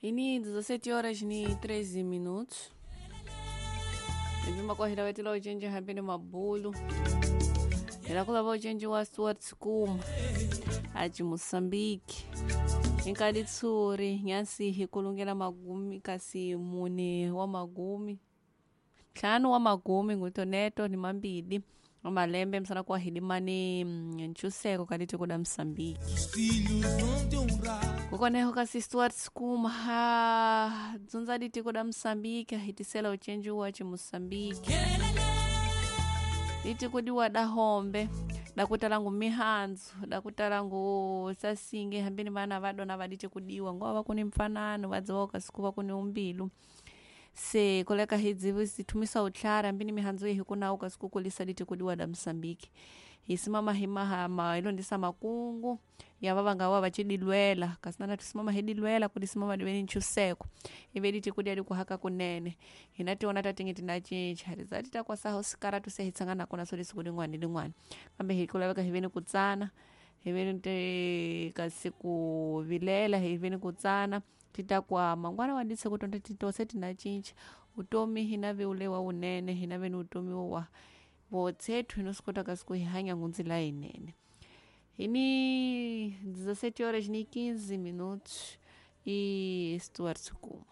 Ini 17 horas ni 13 minutos. Ipima kwahila uchenji hambini mabulu ilakulava uchenji wa Stuart Sikuma aci Moçambique inkadi tsuri nyansihi kulungela magumi kasi mune wa magumi ntlhanu wa magumi ngutoneto ni mambili wa malembe msana kwahidimani nchuseko kaditi kuda Moçambique Os filhos vão te honrar. kukoneho kasi Stuart Sikuma ha dzundza ditiko da Moçambique ahitisela uchenji wa ci Moçambique litiko diwa da hombe dakutalangu mihandzu dakutalangu sasinge hambini vana vadona vaditi kudiwa ngowa vakuni mfanano vadziwa kasiku vakuni umbilu se koleka hidzivi sithumisa utlhara hambini mihandzu ihi kunawu kasiku kulisa diti kudiwa da Moçambique hisimama himahama ilondisa makungu yava vangawa vachidilwela kasi nana tusimama hidilwela kuti simama diveni nchuseko ive diti kudia dikuhaka kunene hina tiona tatingi tinacinca rizati takwasaho sikara tuse hitsangana kona so lisiku ling'wani ling'wani kambe hikulaveka hiveni kutsana hiveni te kasi kuvilela hiveni kutsana titakwama mangwana wadise kutonda titose tinacinca utomi hina viulewa unene hina veni utomi wa votsethu hinosikota kasi kuhihanya ngunzila yinene ini 17 horas ni 15 minutos e Stuart Sukuma.